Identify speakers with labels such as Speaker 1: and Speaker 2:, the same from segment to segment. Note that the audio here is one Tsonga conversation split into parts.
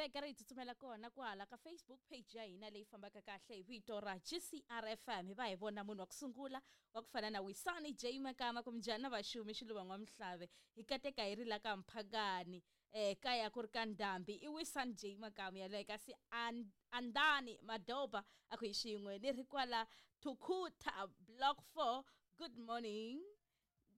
Speaker 1: veka ri hi tsutsumela kona kwala ka Facebook page ya hina leyi fambaka kahle hi vito ra GCRFM hi va hi vona munhu wa ku sungula wa ku fana na Wisani J Makama ku minjhani na vaxumi xiluva n'wamhlave hi kateka hi ri la ka Mphakani kaya ku ri ka Ndhambi i Wisani J Makama yaloye kasi Andani Madoba a ku hi xin'we ni ri kwala Thukhutha Block 4 good morning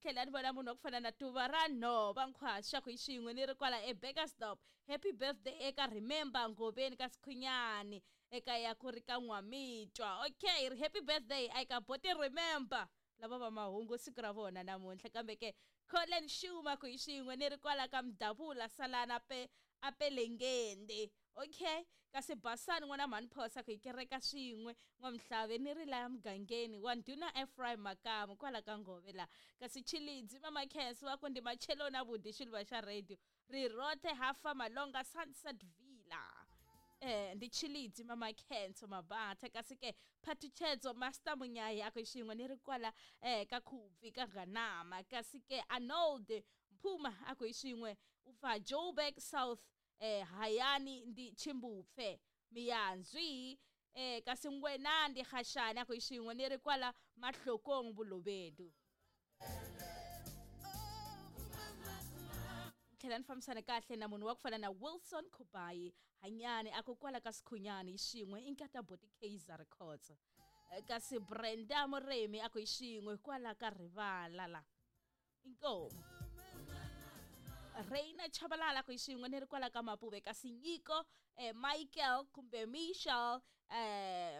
Speaker 1: tlhela ni vona munhu wa ku fana na Tuva ra Nhova Nkhwasha ku hi xin'we ni ri kwala eBurgersdorp happy birthday eka Remember Ngoveni ka Sikhunyani eka ya ku ri ka N'wamitwa okay ri happy birthday eka Boti Remember lava va mahungu siku ra vona namuntlha kambe ke Colin Shuma ku hi xin'we ni ri kwala ka Mdavula Salana pe apelengende okay kasi Basani n'wana mhani Phosa ku hi kereka swin'we n'wamhlave ni ri laya mugangeni wa ndhuna Ephraim Makamu kwala ka Ngove la kasi Chilidzi mama Khensi wa ku ndi macheloni vudi xiluva xa radio ri rote hafa Malonga Sunset Villa ndi Chilidzi mama Khenso Mabatha kasi ke Phathutshedzo Master Munyayi a ku xin'we ni ri kwala ka Khubvi ka Ganama kasi ke Arnold Mphuma a ku hi xin'we u pfa Joburg South Hayani ndi Chimbupfe Miyanzwi kasi Ngwena ndi Khashani a ku hi xin'we ni ri kwala Mahlokong Bolobedu tlhela ni fambisana kahle na munhu wa ku fana na Wilson Khubayi Hanyani a ku kwala ka Sikhunyani hi xin'we i nkata Boti Kaizer Records kasi Brenda Muremi a ku hi xin'we kwala ka Rivala la inkomu Reina Chabalala ku hi xin'we ni ri kwala ka Mapuve kasi Nyiko Michael kumbe Michel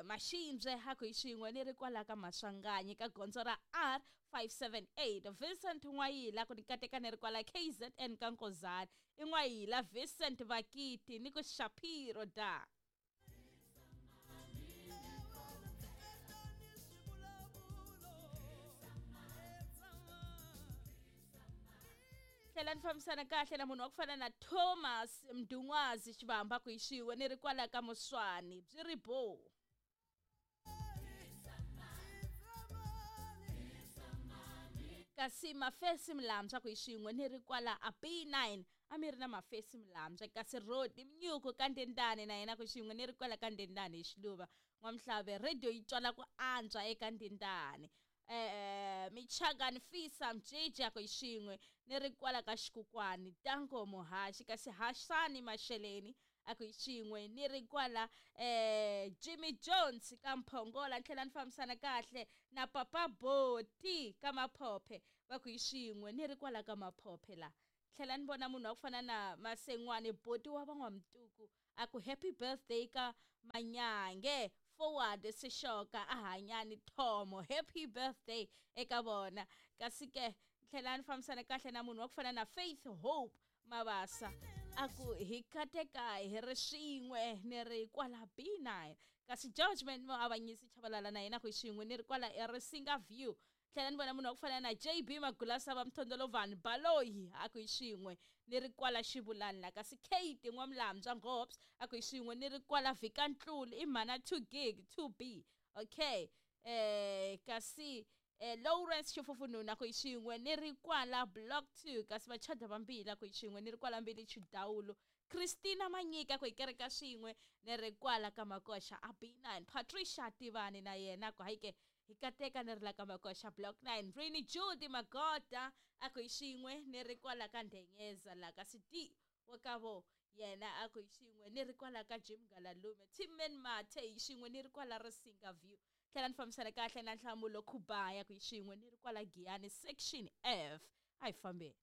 Speaker 1: Mashimbye a ku hi xin'we ni ri kwala ka Maswanganyi ka gondzo ra R578 Vincent N'wayila ku ni kateka ni ri kwala KZN ka Nkozani i N'wayila Vincent Vakiti ni ku Shapiro da tlhela ni fambisana kahle na munhu wa ku fana na Thomas Mdungwazi Xivamba ku hi xin'we ni ri kwala ka Muswani byi ri bo kasi Mafesi Mlamza ku hi xin'we ni ri kwala a B9 a mi ri na Mafesi Mlamza kasi Rodi Mnyuku ka Ndendane na yena ku xin'we ni ri kwala ka Ndendane hi Xiluva n'wamhlave radio yi twala ku antswa eka Ndendane Michangani Fisa Mjiji ku hi xin'we ni ri kwala ka Xikukwani Tango Muhaxi kasi Hasani Masheleni a ku hi xin'we ni ri kwala Jimmy Jones ka Mphongola ni tlhela ni fambisana kahle na Papa Boti ka Maphophe va ku hi xin'we ni ri kwala ka Maphophe la tlhela ni vona munhu wa ku fana na Masengwane Boti wa van'wamtuku a ku happy birthday ka Manyange forward Sishoka a Hanyani Thomo happy birthday eka vona kasi ke tlhela ni fambisana kahle na munhu wa ku fana na Faith Hope Mabasa a ku hi kateka hi ri swin'we ni ri kwala B9 kasi Judgment Muavanyisi Chabalala na yena ku hi xin'we ni ri kwala eRisinga View tlhela ni vona munhu wa ku fana na JB Magulasa va Mthondolovhani Baloyi a ku hi xin'we ni ri kwala Xivulani la kasi Kate N'wamlambya Ngobs a ku hi xin'we ni ri kwala Vhikantlulu i mhana 2 gig 2B okay kasi Lawrence Xifufununu a ku hi xin'we ni ri kwala Block 2 kasi Vachada vambili a ku hi xin'we ni ri kwala Mbili Chidawulu Christina Manyika ku hi kereka swin'we ni ri kwala ka Makoxa a B9 Patricia Tivani na yena ku hayike hi kateka ni ri la ka Makoxa Block 9 Rini Judy Magoda a ku hi xin'we ni ri kwala ka Ndenyeza la kasi D wa ka vo yena a ku hi xin'we ni ri kwala ka Jim Galalume Timmen Mathe hi xin'we ni ri kwala Risinga View tlhela ni fambisana kahle na Nhlamulo Khubaya ku hi xin'we ni ri kwala Giyani Section F a hi fambeni.